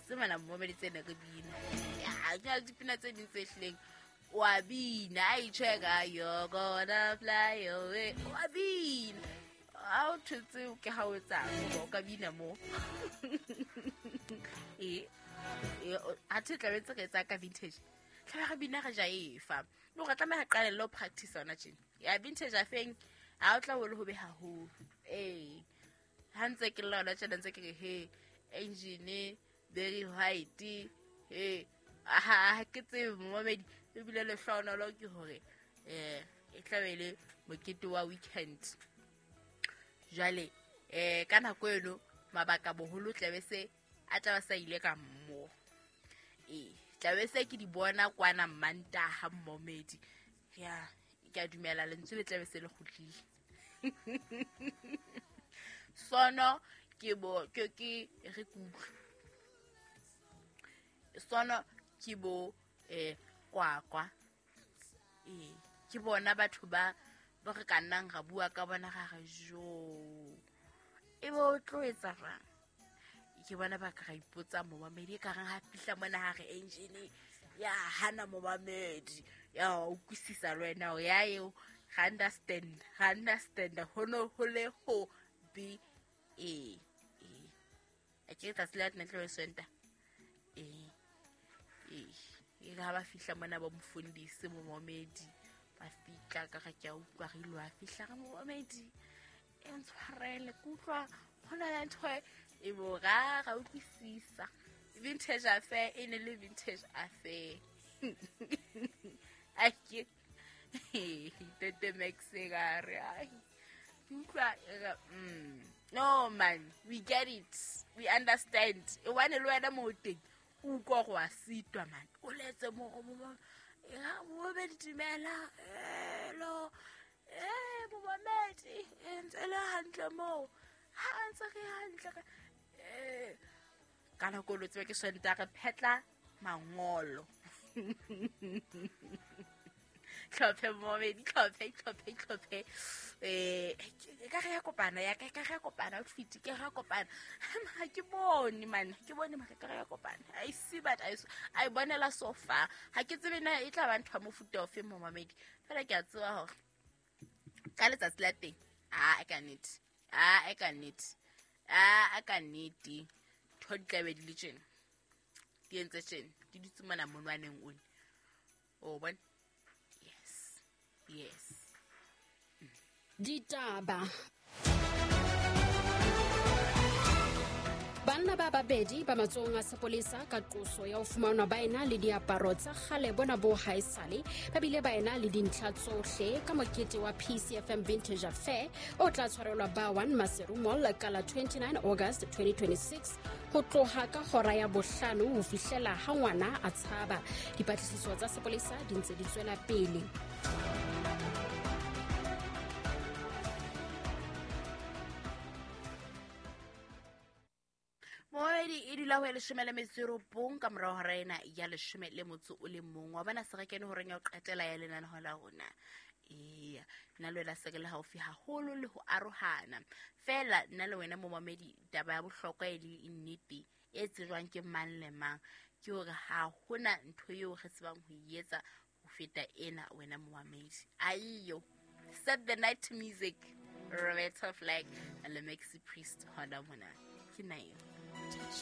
Tse mana momedi tsena re bina. Ya, ke na le dipina tse ding tse hlileng wa bina a itjheka you're gonna fly away wa bina ha o thotse ke ha o etsang o ka bina mo ee ha the tlabe tse re etsa ka vintage tlabe re bina re jaefa le gore tlameha qalelle ho practice yona tjena ya vintage afeng ha o tla o le ho be haholo ee ha ntse ke lla yona tjena ntse ke re he engine very white he ha ke tsebe momamedi ebile lehlohonolo ke hore um e tlabe le mokete wa weekend jwale um ka nako eno mabaka boholo tlabe se a tla ba sa ile ka mmo ee tlabe se ke di bona kwana mmantaha mmomedi ya ke a dumela lentswe le tlabe se le kgutlile sono ke bo ke ke re kutlwe sono ke bo eh kwakwa ee ke bona batho ba ba re ka nnang ra bua ka bona ga re jo e bo o tlo etsa jwang ke bona ba ka ra ipotsa momamedi e ka reng ha fihla mona ha re engine ya hana momamedi ya utlwisisa le wena hore ya eo ga understand ga understand ho no ho le ho be ee ee a ke tsatsi la tena tlo swenta ee ee e re ha ba fihla mona ba mofundisi momamedi ba fihla ka ga ke a utlwa re ile wa fihla re momamedi e ntshwarele ke utlwa go na le ntho e bo ra ra utlwisisa vintage affair e ne le vintage affair a ke tete max ka re ai ke utlwa no man we get it we understand e wane le wena mo teng o utlwa go a sitwa man o letse mo go mo ya bo be dumela elo eh momamedi e ntse le hantle moo ha ntse re hantle eh ka nako lo tsebe ke swenta re phetla mangolo tlhophe momedi tlhophe tlhophe tlhophe eh ka re ya kopana ya ka re ya kopana outfit ke re ya kopana ha ke bone man ke bone mara ka re ya kopana i see but i bonela so far ha ke tsebe na e tla ba ntho ya mofuta ofe momamedi fela ke a tseba hore ka letsatsi la teng a ka nnete a ka nnete a ka nnete ntho di tlabe di le tjena di entse tjena di dutse mona monwaneng one o bona yes yes Ditaba. Banna ba babedi ba matsohong a sepolesa ka qoso ya ho fumanwa ba ena le diaparo tsa kgale bona bo haesale ba bile ba ena le dintlha tsohle ka mokete wa PCFM Vintage Affair o tla tshwarelwa ba 1 Maseru Mall ka la 29 August 2026 ho tloha ka hora ya bohlano ho fihlela ha ngwana a tshaba. Dipatlisiso tsa sepolesa di ntse di tswela pele. Moedi e dula ho ya leshome le metso e robong ka morao hora ena ya leshome le motso o le mong wa bona se re kene horeng ya ho qetela ya lenaneo la rona. Eya, nna le wena se re le haufi haholo le ho arohana fela nna le wena momamedi taba ya bohlokwa e le nnete e tsejwang ke mang le mang ke hore ha hona ntho eo re tsebang ho e etsa ho feta ena wena momamedi. Aiyo, set the night music, Roberta Flack and le Maxi Priest hona mona ke na eo.